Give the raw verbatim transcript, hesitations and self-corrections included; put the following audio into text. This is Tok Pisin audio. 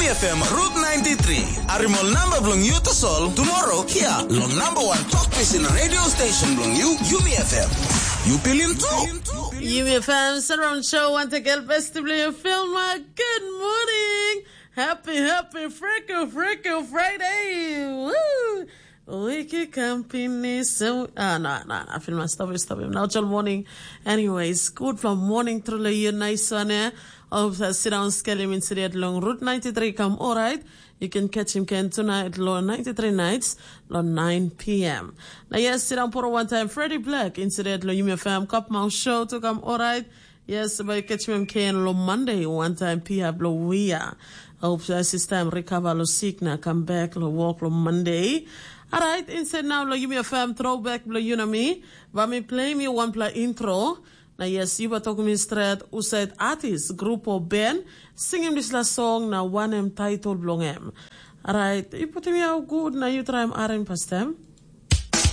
F M Route ninety-three. Arimol number bilong you to solve tomorrow here. Long number one talk pisin radio station bilong you, Yumi F M. You pilim too. Yumi F M Surround Show, want to get best to play a film. Uh, Good morning. Happy, happy, freaking, freaking Friday. Woo! Wiki company. So, ah, no, no, no. Film stop, stop him. Now, till morning. Anyways, good from morning through the year. Nice one, eh? Of uh, sit down skelim incident long Route ninety-three come all right. You can catch him can tonight lo ninety-three nights lo nine p.m. Now yes, sit down for one time. Freddie Black incident lo Yumi F M Cup Mouth Show to come all right. Yes, by catch him can lo Monday one time P F lo Wia. Hope uh, system recover lo sick na come back lo work lo Monday. All right, instead now lo Yumi F M throwback lo Yunami. Let me play me one play intro. Na yes, yu bai tokim mi stret husat artis, grup o ben, singim dispela song na wanem title bilong em. Alright, yu putim yau gut na yu traim harim pastem.